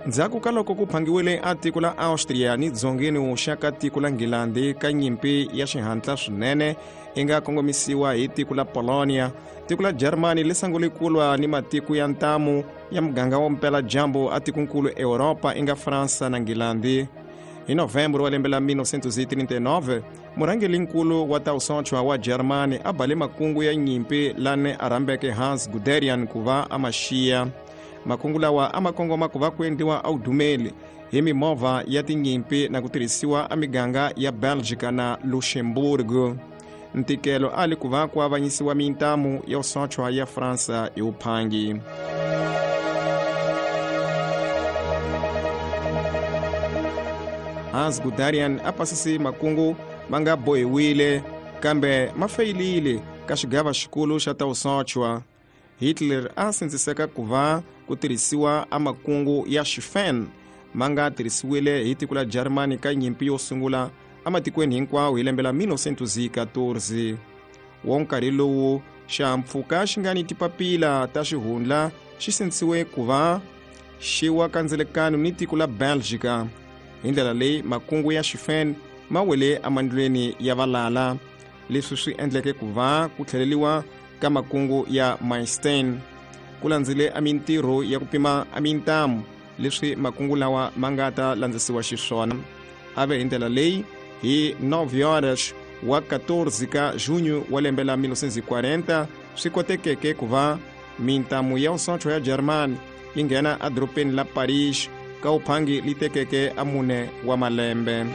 Ndzhaku ka loko ku phangiwile a tiko la Austria ni dzongeni wuxa ka tiko la Nghilandi ka nyimpi ya xihatla swinene i nga kongomisiwa hi tiko la Polonia, tiko la Germany li sungule ku lwa ni matiko ya ntamu ya muganga wa mpela-dyambu a tikonkulu Europa i nga Fransa na Nghilandi. Hi November wa lembe la 1939, murhangelinkulu wa ta vusochwa wa Germany a bale makungu ya nyimpi lane a rhambeke Hans Guderian ku va a ma xiya. Makungu lawa a ma kongoma ku va ku endliwa a vudumeli hi mimovha ya tinyimpi na ku tirhisiwa a miganga ya Belgica na Luxembourg. Ntikelo a li ku va ku avanyisiwa mintamu ya vusochwa ya Fransa hi vuphangi. Hans Guderian a pasise makungu ma nga bohiwile kambe ma feyilile ka xigava xikulu xa ta vusochwa. Hitler a sindziseka ku va ku tirhisiwa a makungu ya Schlieffen ma nga tirhisiwile hi tiko la Germany ka nyimpi yo sungula ematikweni hinkwawo hi lembe la 1914. Wo nkarhi lowu xihahampfhuka xi nga ni tipapila ta xihundla xi sindzisiwe ku va xi wa kandzelekano ni tiko la Belgica. Hi ndlela leyi makungu ya Schlieffen ma wele emandlweni ya valala, leswi swi endleke ku va ku tlheleliwa ka makungu ya Manstein. Ku landzile a mintirho ya ku pima a mintamu leswi makungu lawa ma nga ta landzisiwa xiswona. A ve hi ndlela leyi hi 9 horas wa 14 ka junho wa lembe la 1940 swi kotekeke ku va mintamu ya vusocho ya Germany yi nghena edorobeni la Paris ka vuphangi li tekeke a mune wa malembe.